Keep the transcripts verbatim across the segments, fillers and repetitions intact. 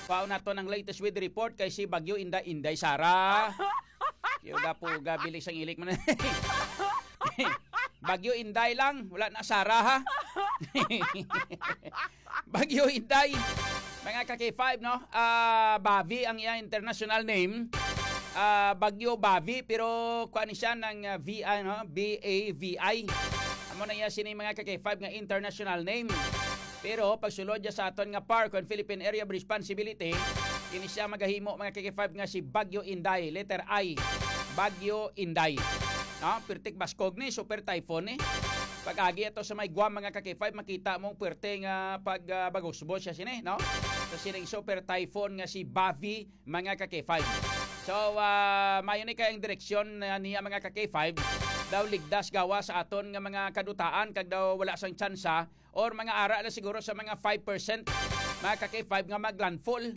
Pao nato ng latest weather report kay si Bagyo Inday, Inday Sara. Yo, gapo, gabilis ang ilik man. Bagyo Inday lang, wala na Sara, ha? Bagyo Inday. Mga ka K five, no? Ah, Bavi ang iyang international name. Ah, Bagyo Bavi, pero kuha ni siya ng, ah, V I, no? B A V I. Amo na iya sini, mga ka K five, nga international name. Pero pagsulod niya sa aton nga PAR, kon Philippine Area of Responsibility, kini siya magahimo, mga ka K five, nga si Bagyo Inday, letter I, Bagyo Inday. No? Pirtik baskog ni, super typhoon ni. Pag-agi ato sa may Guam, mga ka K five, makita mong pwerte nga pag, ah, bagusbos siya sini, no? Sa sining super typhoon nga si Bavi, mga ka K five. So, ah, mayo ni kay ang direksyon na niya, mga ka K five, daw ligdas gawa sa aton nga mga kadutaan, kag daw wala sang tsansa or mga ara lang siguro sa mga five percent, mga ka K five, nga maglandfall.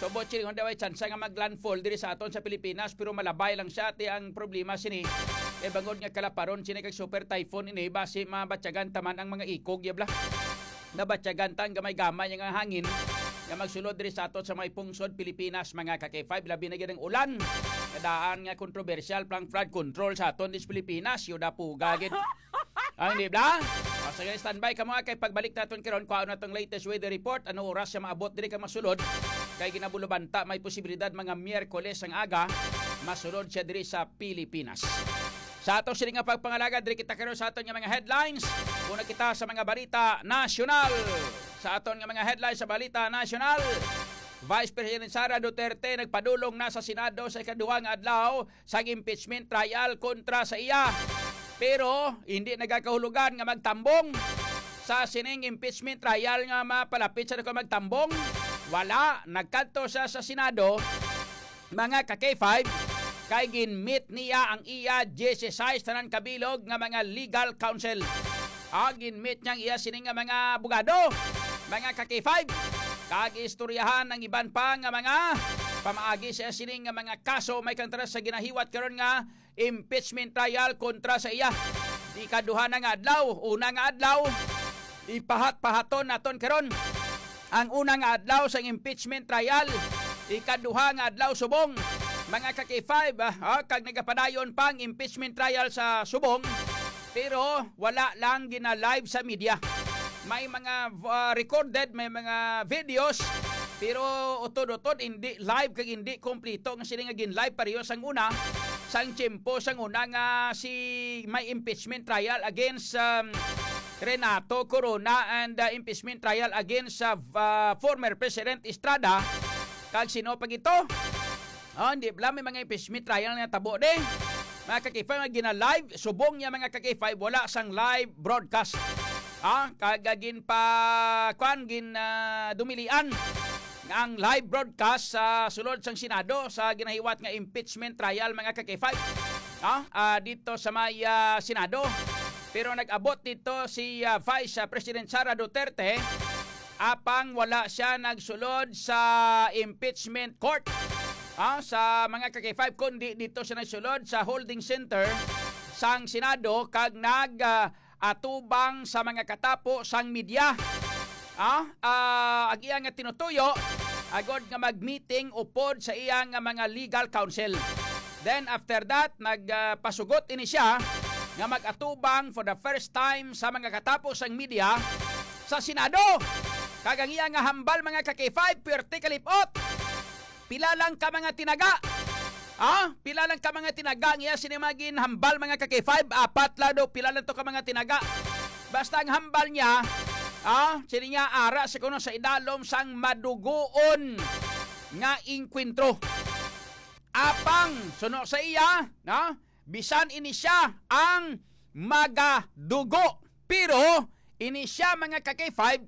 So, Boching, daw ay tsansa nga maglandfall diri sa aton sa Pilipinas, pero malabay lang siya. Ti ang problema sini, eh, bangod nga kalaparon sini kag super typhoon ini, basi mabatyagan taman ang mga ikog, yabla. Nabatyagan ta ang gamay-gamay nga hangin nga magsulod diri sa aton sa may pungsod Pilipinas, mga ka K five, labi na gid ang ulan. Kadaan nga kontrobersyal pang flood control sa aton dis Pilipinas, yuda puga gid. Ang, di ba? O, sige, standby ka mo, ah, kay pagbalik naton karon, kuha na tong latest weather report. Ano oras siya maabot diri ka masulod? Kay ginabulubanta, may posibilidad mga Miyerkules ang aga, masulod siya diri sa Pilipinas. Sa ato sini nga pagpangalagad, diri kita karon sa aton nga mga headlines. Una kita sa mga balita nasyonal. Sa aton nga mga headlines sa balita nasyonal, Vice President Sara Duterte nagpadulong na sa Senado sa ikaduha nga adlaw sang impeachment trial kontra sa iya. Pero hindi nagakahulugan nga magtambong sa sining impeachment trial nga mapalapit sa ko magtambong. Wala, nagkadto siya sa Senado, mga ka K five, kay ginmeet niya ang iya dieciséis tanan kabilog nga mga legal counsel. Ah, ginmeet niya ang iya sini nga mga abogado, mga ka K five. Kag istoryahan ang iban pa nga mga pamaagi sa sini nga mga kaso may kontra sa ginahiwat karon nga impeachment trial kontra sa iya. Ikaduha na nga adlaw, una nga adlaw, ipahat-pahaton naton karon. Ang una nga adlaw sang impeachment trial, ikaduha nga adlaw subong, mga ka K five, ah, ah, kag nagapadayon pa ang impeachment trial sa subong, pero wala lang gina-live sa media. May mga, ah, recorded, may mga videos, pero utod-utod hindi live kag hindi kompleto nga sila nga gin-live pareho sang una, sang tiyempo sang una nga si may impeachment trial against, um, Renato Corona and, uh, impeachment trial against sa, uh, former President Estrada. Kag sino pa gito? Oh, hindi pala may mga impeachment trial nga tabo di. Mga ka K five, nga gina-live, subong niya, mga ka K five, wala sang live broadcast. Ah, kag, ah, gin pa, kwan, gin, ah, dumilian ang live broadcast sa sulod sang Senado sa ginahiwat nga impeachment trial, mga ka K five, ah, ah, dito sa may, ah, Senado. Pero nag-abot dito si, ah, Vice, ah, President Sara Duterte, apang wala siya nagsulod sa impeachment court, ah, sa mga ka K five, kundi dito siya nagsulod sa holding center sang Senado kag nag, ah, atubang sa mga katapo sang media. Ah, ah, ang iya nga tinutuyo, agod nga mag-meeting upod sa iya nga mga legal counsel. Then after that, nagpasugot ini siya nga mag-atubang for the first time sa mga katapo sang media sa Senado. Kag ang iya nga hambal, mga ka K five, perti kalipot. Pila lang ka mga tinaga? Ah, pila lang ka mga tinaga ang iya sini mga ginhambal, mga ka K five? Apat lang daw, pila lang to ka mga tinaga? Basta ang hambal niya, ah, sini niya ara sa kuno sa idalom sang madugoon nga engkwentro. Apang, suno sa iya, no? Bisan ini siya ang magadugo. Pero, ini siya, mga ka K five,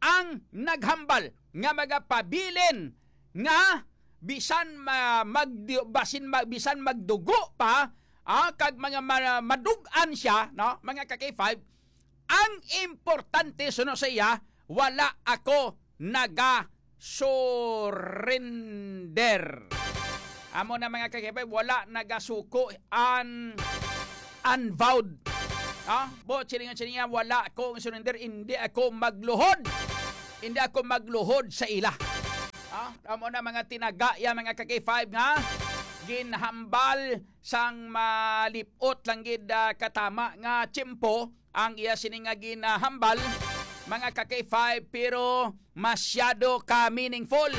ang naghambal nga magapabilin nga bisan ma-, magdi-, basin ma-, bisan magdugo pa, ah, kag mga ma-, madug-an siya, no, mga ka K five, ang importante suno sa iya, wala ako naga-surrender. Amo na, mga ka K five, wala nagasuko an unvowed. Ha? Bo, silingan, silingan, wala akong surrender, hindi ako magluhod. Hindi ako magluhod sa ila. Ha? Amo na mga tinaga ya, mga ka-K five, nga ginhambal sang malip-ot lang gid, ah, katama nga tiyempo ang iya sini nga ginahambal, mga ka-K five, pero masyado ka meaningful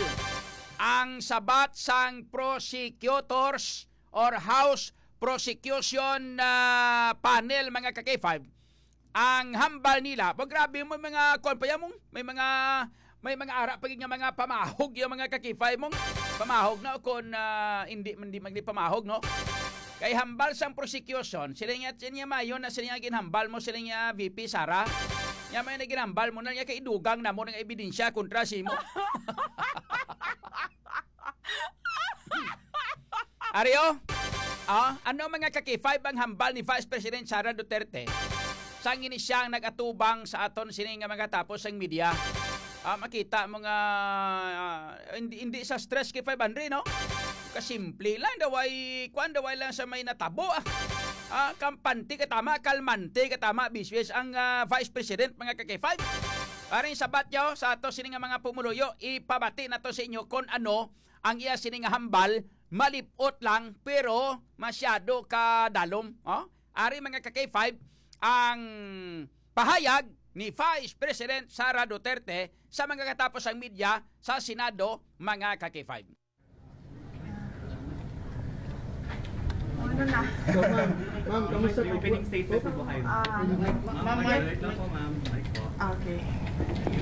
ang sabat sang prosecutors or House Prosecution, ah, Panel, mga ka-K five. Ang hambal nila, pag grabe mo, mga kuwan pa yan, mong, may mga, may mga ara pa gid nga mga pamahog yung mga ka-K five mong pamahog na, o kung, ah, hindi man, di man di pamahog, no? Kay hambal sang prosecution, sila nga, sila nga mayon na sila nga ginhambal mo, sila nga V P Sara. Nga may na ginhambal mo na niya kay idugang na mo ng ebidensya kontra si mo. Ario, ah, ano, mga ka-K five, ang hambal ni Vice President Sara Duterte sang ini siya ang nag-atubang sa aton sini nga mga tapos sang media? Ah, makita mo nga, ah, hindi, hindi sa stress kay five hundred, no? Kasimple lang, daway, kwan, daway lang sa may natabo, ah. Ah, kampante ka tama, kalmante ka tama, biswes ang, ah, Vice President, mga ka-K five. Aring sabat yo sa ato sini nga mga pumuluyo, ipabati nato sa inyo kon ano ang iya sini nga hambal, malip-ot lang, pero masyado ka dalom. Oh? Ari, mga ka-K five, ang pahayag ni Vice President Sara Duterte sa mga katapos ang media sa Senado, mga ka-K five. Ano na? So, ma'am, ma'am, kamusta po? Opening statement na po kayo. Ah, Ma'am, ma'am, mic, mic lang po, ma'am. Mic po. Okay.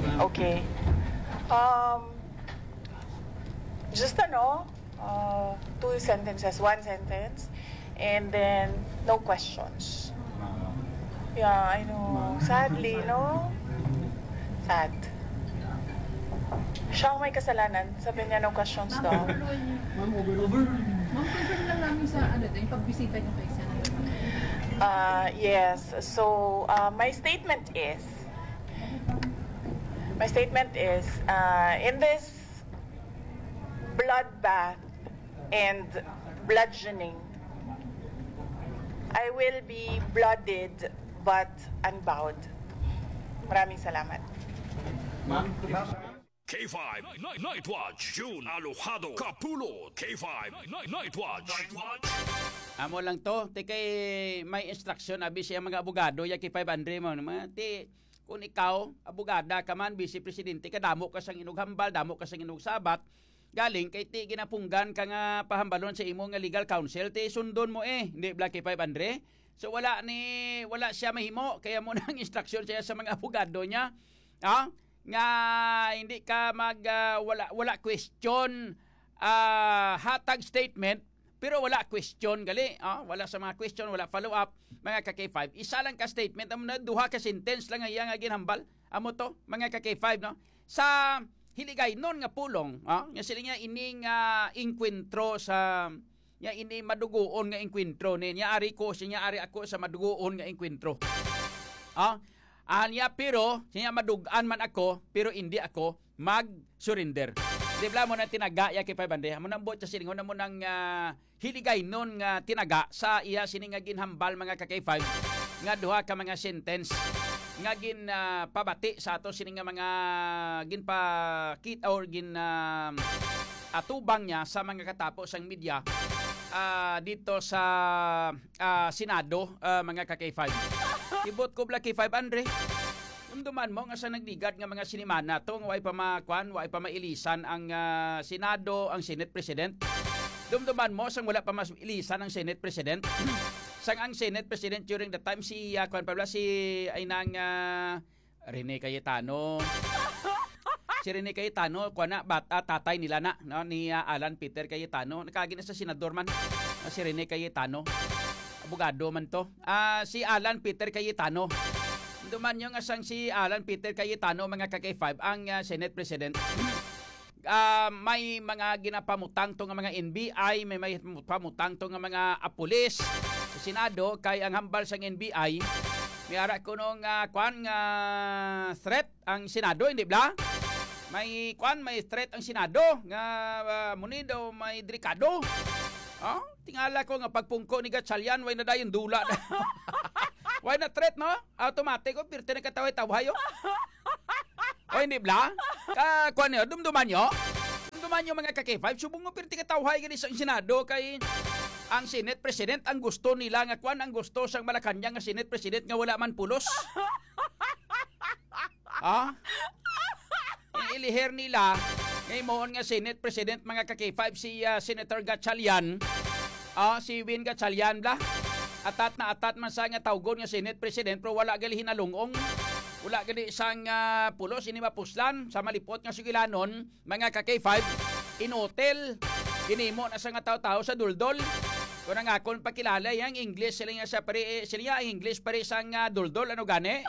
Ma'am. Okay. Um, just ano, uh, two sentences, one sentence, and then no questions. Yeah, I know. Sadly, no? Sad. Siya ang may kasalanan. Sabi niya, no questions daw. Ma'am, overrule. Ma'am, confirm lang namin sa ano, yung pagbisita niyo kay Senator. Uh, yes. So, uh, my statement is, my statement is, uh, in this bloodbath and bludgeoning, I will be blooded but unbowed. Maraming salamat. K five Night, Night Watch, June Alojado Kapulot. K five Night, Night Watch. Night Watch. Amo lang to, ti kay may instruction abi siya mga abogado ya kay five hundred mo. Mga ti, kung ikaw, abogada ka man, vice presidente ka, damo ka sang inughambal, damo ka sang inugsabat, galing kay ti ginapunggan ka nga pahambalon sa imo nga legal counsel, ti sundon mo eh, hindi bla kay five hundred? So wala ni, wala siya mahimo, kaya mo nang instruction siya sa mga abogado niya. Ah? Nga hindi ka mag, ah, wala, wala question, ah, hatag statement, pero wala question gali, ah, wala sa mga question, wala follow up, mga ka-K five. Isa lang ka statement, amo na, duha ka sentence lang nga iya nga ginhambal. Amo to, mga ka-K five, no? Sa Hiligaynon nga pulong, ah, nga sila nga ining, ah, engkwentro sa, nga ini madugoon nga engkwentro ni, nya ari ko, siya ari ako sa madugoon nga engkwentro. Ah, ah, niya, pero siya madug-an man ako, pero hindi ako mag-surrender. Di bla mo na tinaga ya kay five hundred. Amo nang buot sa silingon, amo nang, ah, Hiligaynon nga tinaga sa iya sini nga ginhambal, mga ka-K five, nga duha ka mga sentence nga gin, ah, pabati sa ato sini nga mga ginpakita or gin, ah, atubang niya sa mga katapo sang media, ah, dito sa, ah, Senado, ah, mga ka-K five. Ibot ko bla K five, Andre. Dumduman mo nga sa nagligad nga mga sinimana to, nga way pa ma-, kwan, way pa mailisan ang, ah, Senado, ang Senate President. Dumduman mo sang wala pa mailisan ang Senate President. Sang ang Senate President during the time si, ah, kwan pa bla, si, ay nang, ah, Rene Cayetano. Si Rene Cayetano, kwan na, bat-, ah, tatay nila na, no, ni, ah, Alan Peter Cayetano. Nakagi na sa senador man, ah, si Rene Cayetano. Abogado man to. Ah, si Alan Peter Cayetano. Dumduman nyo nga sang si Alan Peter Cayetano, mga ka-K five, ang, ah, Senate President. Ah, may mga ginapamutang to nga mga N B I, may, may pamutang to nga mga, ah, pulis sa Senado, kay ang hambal sang N B I, may ara kuno nga, kwan, nga threat ang Senado, hindi bla? May, kwan, may threat ang Senado nga, ah, muni daw may delikado. Oh, tingala ko nga pagpungko ni Gatchalian, way na dayon dula na. Way na threat, no? Automatic, oh, pirte na kataway-tawhay, oh. O, hindi bla? Ka, kwan niyo, dumduman niyo? Dumduman Ano, mga ka-K five, subong mo pirti katawhay gani sa Senado kay ang Senate President ang gusto nila nga kwan, ang gusto sang Malacañang nga Senate President nga wala man pulos. Ah? Ang iliher nila, nga imoon nga Senate President, mga ka-K five, si, ah, Senator Gatchalian, ah, si Win Gatchalian, bla. Atat na atat man sa nga tawgon nga Senate President, pero wala gali hinalungong. Wala gali sang, ah, pulos, ini mapuslan sa malipot nga sugilanon, mga ka-K five, in hotel, ginimo na sa nga tawo-tawo sa duldol. Kung ang akon pakilala, yang English, sila nga sa pare, eh, sila nga ang English pare sang, ah, duldol, ano gani?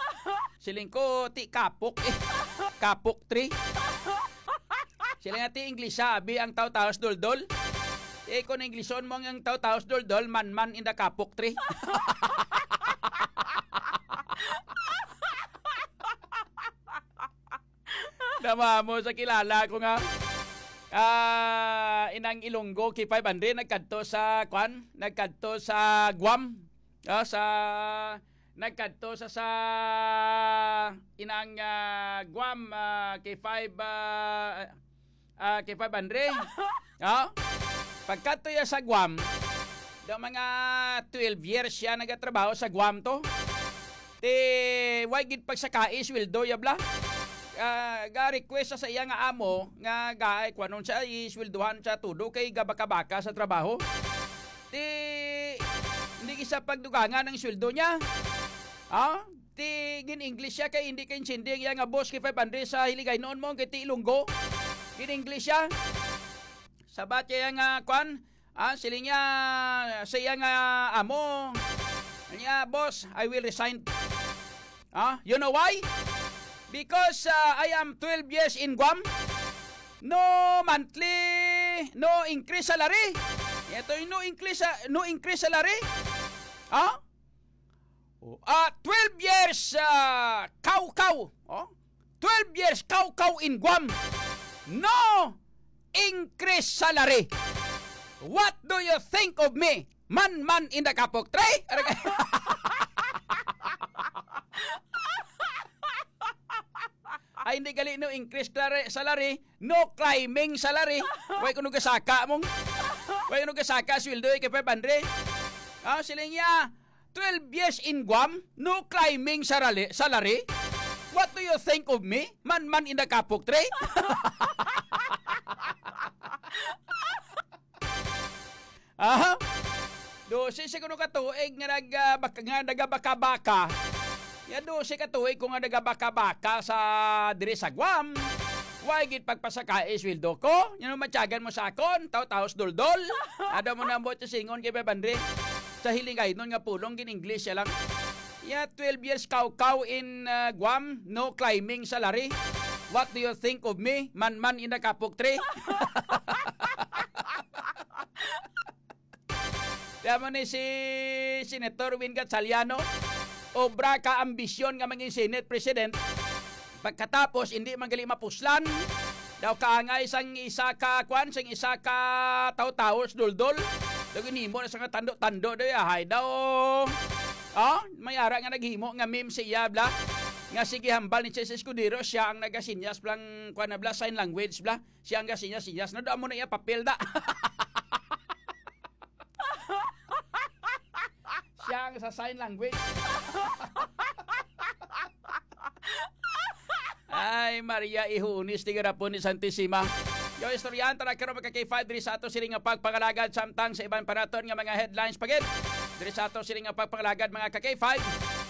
Siling ko, ti kapok, eh. Kapok tree. Sila nga ti English, abi ang tawo-tawo sa duldol. Eh, kung Englishon mo ang tawo-tawo sa duldol, man-man in the kapok tree. Namamo sa kilala ko nga, ah, inang Ilonggo, K five hundred, nagkadto sa, kwan, nagkadto sa Guam. Ah, sa, nagkadto sa, sa inang, ah, Guam, ah, K five, ah, ah, K five hundred. Ah? Pagkadto ya sa Guam, daw mga twelve years siya nagatrabaho sa Guam to. Ti, way gid pagsakai, sweldo ya bla. Ah, ga-request sa iya nga amo nga ga-, kuwanon siya, isweldohan siya todo kay gabaka-baka sa trabaho. Ti, hindi gid siya pagdugangan ang sweldo niya. Ah? Ti, gin-English siya kay hindi kaintindi ang iya nga boss kay five hundred sa Hiligaynon mo, kay ti Ilonggo. Gin-English siya. Sabat kay iya nga, kwan, ah, siling niya, sa iya nga amo, niya, "Boss, I will resign." Ah, you know why? Because, ah, I am twelve years in Guam. No monthly, no increase salary. Ito yung no increase, sa- no increase salary. Ah? Oh, ah, twelve years, ah, kaw-kaw. Oh? Twelve years kaw-kaw in Guam. No increase salary. What do you think of me? Man, man in the kapok tray. Ay, hindi gali no increase salary, salary, no climbing salary. Way kuno gasaka mong. Way kuno gasaka sweldo, eh, kay five hundred. Ah, siling niya, twelve years in Guam, no climbing salary, salary? What do you think of me? Man, man in the kapok tray? Aha. Dose siguro ka tuig nga nag, ah, bak-, nga nagabaka-baka. Ya dose ka tuig ko nga nagabaka-baka sa diri sa Guam. Way gid pagpasakai sweldo ko. Yan ang matyagan mo sa akon, taw-taos duldol. Ada mo na mo singon kay Bebandre. Sa Hiligaynon nga pulong, gin-English siya lang. Yeah, twelve years kaw-kaw in, uh, Guam, no climbing salary. What do you think of me? Man-man in the kapok tree. Kaya mo ni si Senator Win Gatchaliano, obra ka ambisyon nga mangin Senate President. Pagkatapos, hindi man gali mapuslan. Daw kaangay sang isa ka, kwan, sang isa ka taw-taw, duldol. Daw ginhimo na sa nga tando-tando, daw yahay daw. Oh, may ara nga naghimo nga meme siya, bla. Nga sige hambal ni Chess Escudero, siya ang nagasinyas, blang, kwan na, bla, sign language, bla. Siya ang gasinyas-sinyas. Na, daw mo na iya papel, da. Siya ang sa sign language. Ay, Maria Ihunis, tigarapon ni Santisima. Yo, istoryahan ta na karon, mga ka-K five, diri sa ato sini nga pagpangalagad, samtang sa iban pa naton nga mga headlines pa gid. Diri sa ato sini nga pagpangalagad, mga ka-K five,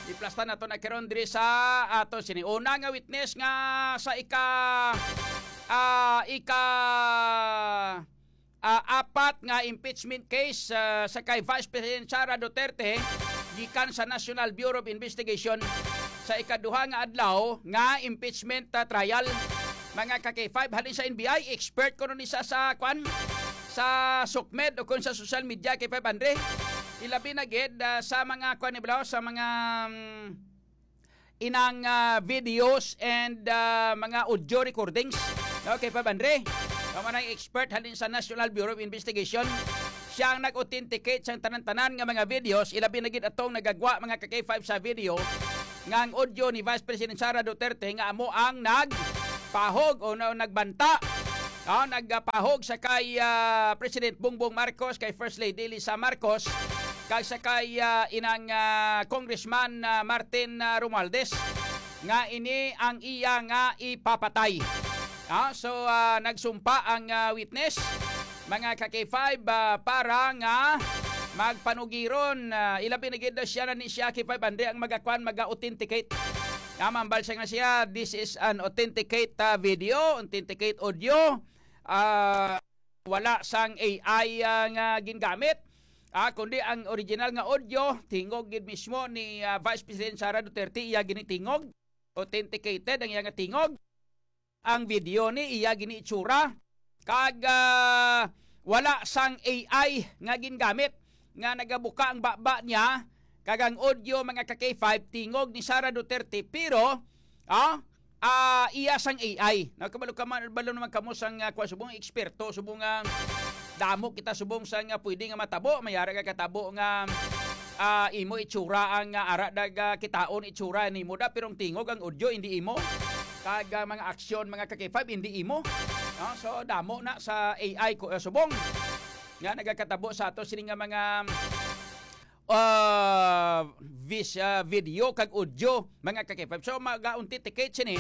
iplastan nato na karon diri sa ato sini. Una nga witness nga sa ika, ah, ika ah, apat nga impeachment case, ah, sa kay Vice President Sara Duterte gikan sa National Bureau of Investigation sa ikaduha nga adlaw nga impeachment, ah, trial. Mga ka-K five, halin sa N B I, expert kuno ni sa, sa kwan, sa SOCMED o kung sa social media, K five Andre. Ilabi na gid, ah, sa mga kwan ni Blau, sa mga, mm, inang, ah, videos and, ah, mga audio recordings. Okay, Pab Andre. Kamo na expert halin sa National Bureau of Investigation. Siya ang nag-authenticate sa tanan-tanan nga mga videos, ilabi na gid atong nagagwa, mga ka-K five, sa video nga ang audio ni Vice President Sara Duterte nga amo ang nagpahog o na, nagbanta Ah, nagpahog sa kay, ah, President Bongbong Marcos, kay First Lady Lisa Marcos, kag sa kay, ah, inang, ah, Congressman, ah, Martin, ah, Romualdez nga ini ang iya nga ipapatay. Ah, so, ah, nagsumpa ang, ah, witness, mga ka-K five, ah, para nga magpanugiron, ah, ilabi na gid daw siya na ni siya K five Andre ang magakuan, maga-authenticate. Namambal siya nga siya, this is an authenticate, ah, video, authenticate audio. Ah, wala sang A I, ah, nga gingamit. Ah, kundi ang original nga audio, tingog gid mismo ni, ah, Vice President Sara Duterte, iya ginitingog. Authenticated ang iya nga tingog. Ang video ni iya gini itsura. Kag, ah, wala sang A I nga gingamit nga nagabuka ang baba niya. Kag ang audio, mga ka-K five, tingog ni Sara Duterte, pero, ah, ah, iya sang A I. Nakabalo ka man, balo naman kamo sang, ah, kuwan, subong eksperto, subong, ah, damo kita subong sang, ah, pwede nga matabo. May ara ka katabo nga, ah, imo itsura ang, ah, ara dag, ah, kitaon itsura nimo da, pero ang tingog, ang audio, hindi imo. Kag, ah, mga aksyon, mga ka-K five, hindi imo. No? So, damo na sa A I ko, ah, subong nga nagakatabo sa ato sini nga mga, ah, vis-, ah, video kag audio, mga ka-K five. So, mag-authenticate sini,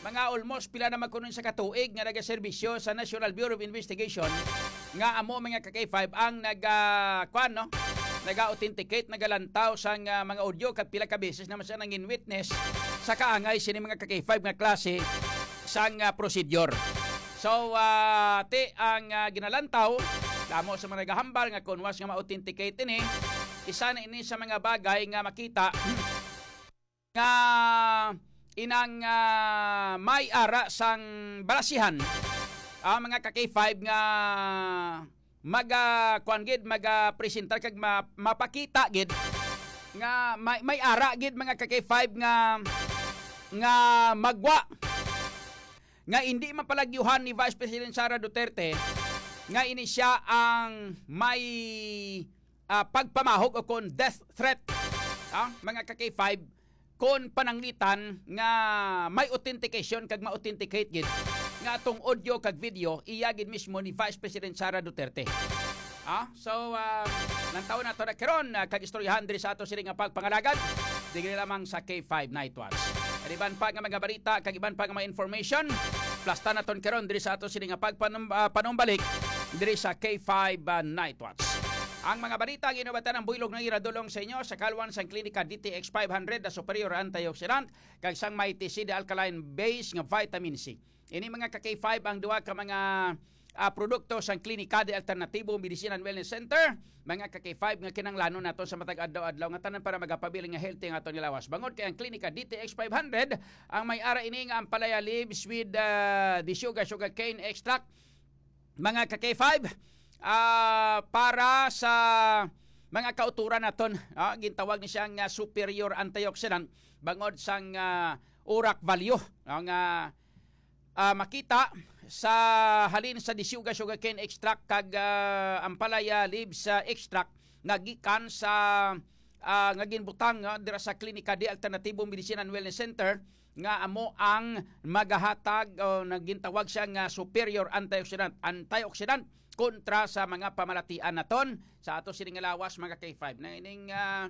mga almost pila na magkunon sa katuig nga nagaserbisyo sa National Bureau of Investigation, nga amo, mga ka-K five, ang nag, ah, kwan, no? Naga-authenticate, nagalantaw sang, ah, mga audio, kag pila ka beses naman siya nangin witness sa kaangay sini, mga ka-K five, nga klase sang, ah, procedure. So, ah, ti ang, ah, ginalantaw, damo sa mga nagahambal nga kung was nga ma-authenticate ini, isa na ini sa mga bagay nga makita nga inang, ah, may ara sang balasihan, ah, mga ka-K five, nga maga, kuan gid, maga presentar kag ma-, mapakita gid nga may, may ara gid, mga ka-K five, nga, nga magwa nga hindi mapalagyuhan ni Vice President Sara Duterte nga ini siya ang may, ah, pagpamahog o kon death threat, ah, mga ka-K five, kon pananglitan nga may authentication kag ma-authenticate gid nga atong audio kag video iya gid mismo ni Vice President Sara Duterte. Ah, so, ah, lantaw nato na karon, ah, kag istoryahan diri sa ato sini nga pagpangalagad, diri lamang sa K five Night Watch. Ang iban pa nga mga balita kag iban pa nga mga information, plastan naton karon diri sa ato sini nga pagpanum-, ah, panumbalik diri sa K five, ah, Night Watch. Ang mga balita ang inubatan ang buylog nga iradulong sa inyo sa kalwan sang Klinika D T X five hundred na superior antioxidant kag sang Mighty C D alkaline base nga vitamin C. Ini, mga ka-K five, ang duha ka mga, ah, produkto sang Klinika de Alternativo Medicine and Wellness Center, mga ka-K five, nga kinahanglanon nato sa matag adlaw-adlaw nga tanan para magapabilin nga healthy ang aton nga lawas. Bangod kay ang Klinika D T X five hundred ang may ara ini nga ampalaya leaves with, ah, the sugar, sugar cane extract, mga ka-K five, ah, para sa mga kauturan naton, ah, gintawag ni siya nga superior antioxidant bangod sang, ah, urak value, no, nga, ah, makita sa halin sa disyuga sugarcane extract kag, ah, ampalaya leaves, ah, extract nga gikan sa, ah, nga ginbutang, ah, dira sa Klinika de Alternativo Medicine and Wellness Center, nga amo ang magahatag o nagintawag siya nga superior antioxidant, antioxidant kontra sa mga pamalatian naton sa ato sini nga lawas, mga K five. Na ining, ah,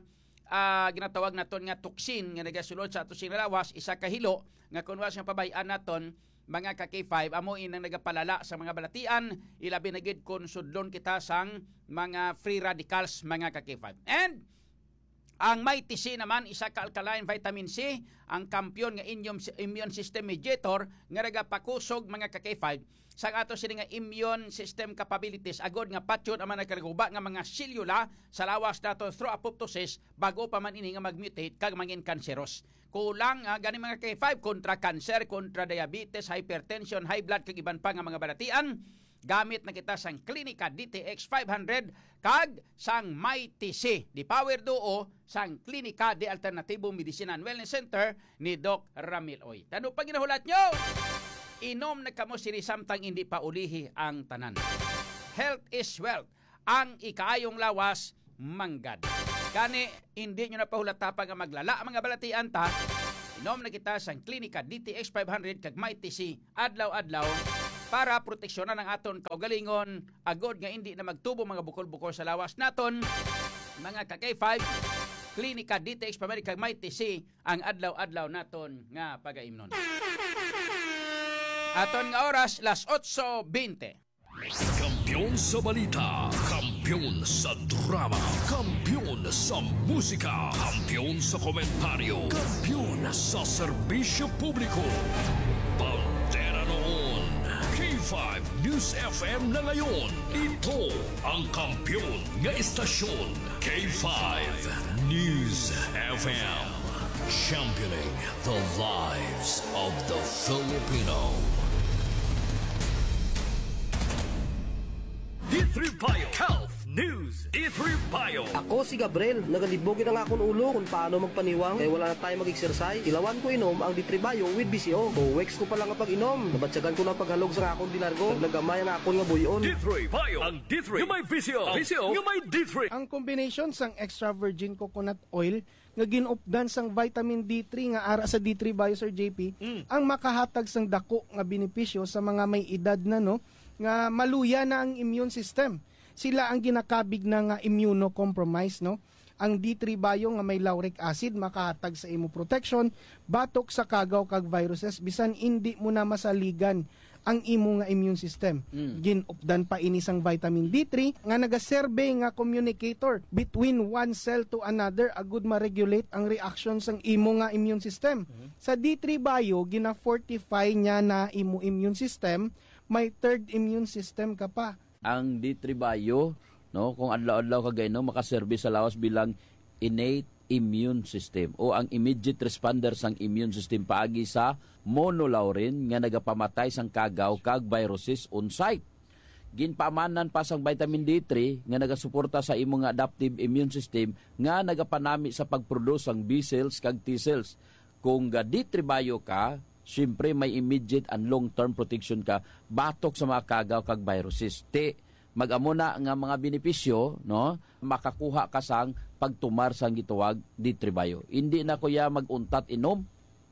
ah, ginatawag naton nga toxin nga nagasulod sa ato sini nga lawas, isa ka hilo nga kun wala siyang pabay-an naton, mga ka-K five, amo inang nagapalala sa mga balatian, ilabi na gid kun sudlon kita sang mga free radicals, mga ka-K five. And ang Mighty C naman, isa ka alkaline vitamin C, ang kampiyon nga immune, immune system mediator nga nagapakusog, mga ka-K five, sang ato sini nga immune system capabilities, agod nga patyon ang mga nagkalaguba nga mga selula sa lawas nato through apoptosis, bago pa man ini nga mag-mutate kag mangin kanseros. Kulang, ah, gani, mga K five, kontra cancer, kontra diabetes, hypertension, high blood, kag iban pa nga mga balatian. Gamit na kita sang Klinika D T X five hundred kag sang Mighty C, the power duo sang Klinika de Alternativo Medicine and Wellness Center ni Doc Ramil Oy. Tano pa ginahulat nyo? Inom na kamo sini samtang hindi pa ulihi ang tanan. Health is wealth. Ang ikaayong lawas manggad. Gani, hindi nyo na pahulata pa nga maglala ang mga balatian ta. Inom na kita sang Klinika D T X five hundred kag Mighty C adlaw-adlaw para proteksyonan ang aton kaugalingon, agod nga indi na magtubo mga bukol-bukol sa lawas naton, mga ka-K five, Klinika D T X Pamilya kag Mighty C ang adlaw-adlaw naton nga pagaimnon. Aton nga oras, las otso bente. Kampiyon sa balita, kampiyon sa drama, kampiyon sa musika, kampiyon sa komentaryo, kampiyon sa serbisyo publiko. Bandera noon, K five News F M na ngayon. Ito ang kampiyon nga istasyon, K five News F M. Championing the lives of the Filipino. D three Bio Health News. D three Bio. Ako si Gabriel. Nagalibog gid ang akon ulo kung paano magpaniwang kay wala na tayo mag-exercise. Ilawan ko inom ang D three Bio with V C O. Two weeks ko pa lang ang pag-inom. Nabatyagan ko na ang paghalog sa akon dilargo. Naglagamay ang akon nga buy-on. D three Bio. Ang D three nga may V C O. V C O nga may D three. Ang combination sang extra virgin coconut oil nga gin-updan sang vitamin D three nga ara sa D three Bio, Sir J P, Mm. ang makahatag sang dako nga benepisyo sa mga may edad na, no, nga maluya na ang immune system. Sila ang ginakabig na nga immunocompromised, no? Ang D three Bio nga may lauric acid makahatag sa imo protection batok sa kagaw kag viruses bisan indi mo na masaligan ang imo nga immune system. Mm. Gin-updan pa ini sang vitamin D three nga nagaserbe nga communicator between one cell to another agud ma-regulate ang reaction sang imo nga immune system. Mhm. Sa D three Bio, gina-fortify niya na imo immune system, may third immune system ka pa. Ang D three Bio, no, kung adlaw-adlaw ka gainom, makaserbi sa lawas bilang innate immune system o ang immediate responder sang immune system paagi sa monolaurin nga nagapamatay sang kagaw kag viruses on site. Ginpaamanan pa sang vitamin D three nga nagasuporta sa imo nga adaptive immune system nga nagapanami sa pagproduce sang B cells kag T cells. Kung ga D three Bio ka, siyempre may immediate and long-term protection ka batok sa mga kagaw kag viruses. Ti, mag-amo na nga mga benepisyo, no? Makakuha ka sang pagtumar sang gitawag D three Bio. Hindi na ko ya mag-untat inom,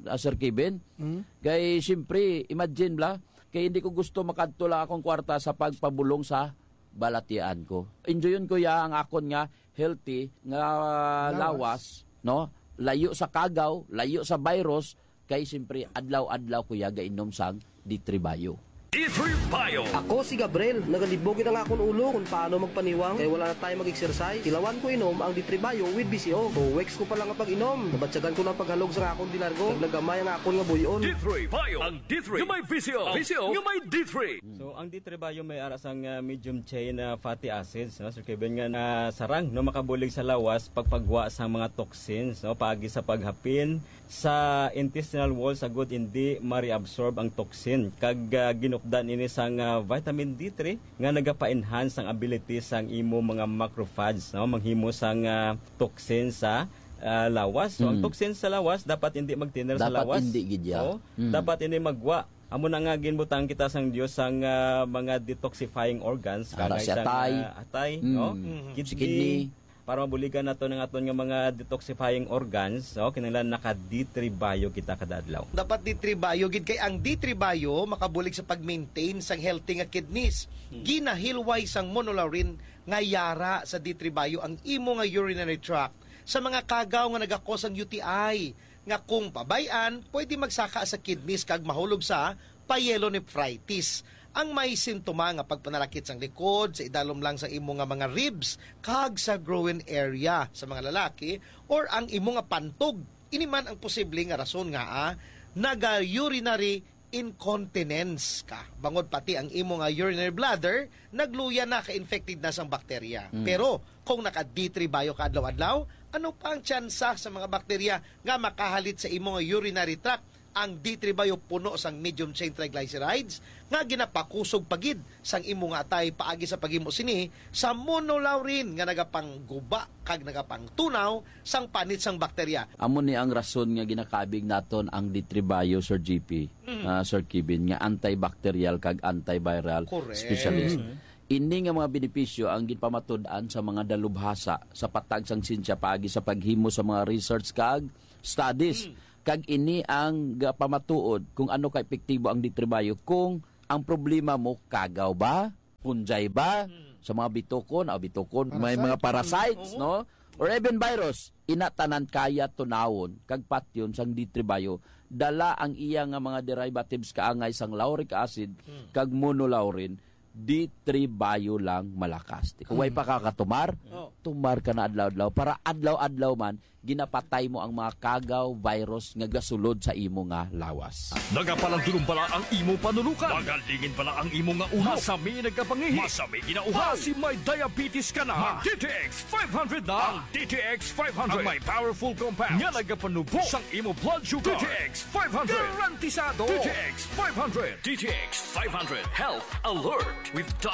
ah, Sir Kevin. Mm. Kay, siyempre, imagine bla, kay hindi ko gusto makadto lang akong kwarta sa pagpabulong sa balatian ko. Enjoyon ko ya ang akon nga healthy nga Lawas. lawas, no? Layo sa kagaw, layo sa virus, kay siyempre adlaw-adlaw ko ya gainom sang D three Bio. D three Bio. Ako si Gabriel. Nagalibog gid ang akon ulo kung paano magpaniwang kay wala na tayo mag-exercise. Ilawan ko inom ang D three Bio with V C O. Two weeks ko pa lang ang pag-inom. Nabatyagan ko na ang paghalog sa akon dilargo. Naglagamay ang akon nga buy-on. D three Bio. Ang D three nga may V C O. V C O nga may D three. So, ang D three Bio may ara sang, ah, medium chain, ah, fatty acids, no? So, Kevin, nga, ah, sarang, no, makabulig sa lawas pagpagwa sa mga toxins, no, paagi sa paghapin sa intestinal wall, sa gud hindi ma-reabsorb ang toxin. Kag, ah, ginupdan ini sang, ah, vitamin D three nga nagapa-enhance ang ability sang imo mga macrophage, no, manghimo sang, ah, toxin sa, ah, lawas. So, ang Mm. toxin sa lawas dapat hindi magtiner sa Dapat lawas. hindi gid ya. Oo. Mm. Dapat ini magwa. Amo na nga ginbutang kita sang Dios sang, ah, mga detoxifying organs, Ara kagay si sang, atay. ah, atay, Mm. no? Mhm. Si Kidney, kidney. Para mabuligan nato ang aton nga mga detoxifying organs, no? Kinahanglan naka D three Bio kita kada adlaw. Dapat D three Bio gid kay ang D three Bio makabulig sa pag-maintain sang healthy nga kidneys. Hmm. Ginahilway sang monolaurin nga yara sa D three Bio ang imo nga urinary tract sa mga kagaw nga nagakos ang U T I, nga kung pabay-an, pwede magsaka sa kidneys kag mahulog sa pyelonephritis. Ang may sintoma nga pagpanalakit sang likod, sa idalom lang sa imo nga mga ribs, kag sa groin area sa mga lalaki, or ang imo nga pantog. Ini man ang posible nga rason nga, ah, naga-urinary incontinence ka. Bangod pati ang imo nga urinary bladder, nagluya na, ka-infected na sang bakterya. Mm. Pero kung naka D three Bio ka adlaw-adlaw, ano pa ang tsansa sa mga bakterya nga makahalit sa imo nga urinary tract? Ang D three Bio puno sang medium chain triglycerides nga ginapakusog pa gid sang imo nga atay paagi sa paghimo sini sa monolaurin nga nagapangguba kag nagapangtunaw sang panit sang bakterya. Amo ni ang rason nga ginakabig naton ang D three Bio, Sir G P, Mm. ah, Sir Kevin, nga antibacterial kag antiviral Correct. specialist. Mm. Ini nga mga benepisyo ang ginpamatud-an sa mga dalubhasa sa patag sang siyensya paagi sa paghimo sa mga research kag studies. Mm. Kag ini ang gapamatuod kung ano ka epektibo ang D three Bio kung Ang problema mo, kagaw ba? Punjay ba? Sa mga bitukon, ah, bitukon, may mga parasites, no? Or even virus, ina tanan kaya tunawon kag patyon sang D three Bio. Dala ang iya nga mga derivatives kaangay sang lauric acid kag monolaurin, D three Bio lang malakas. Kung way pa ka katumar, tumar ka na adlaw-adlaw para adlaw-adlaw man ginapatay mo ang mga kagaw, virus nga gasulod sa imo nga lawas. Nagapalandulong bala ang imo panulukan? Magalingin bala ang imo nga ulo? Masami nagkapangihi? Masami ginauhaw? Basi may diabetes ka na? Mag D T X five hundred na. Ang D T X five hundred ang may powerful compound nga nagapanubo sang imo blood sugar. D T X five hundred garantisado. D T X five hundred. D T X five hundred Health Alert with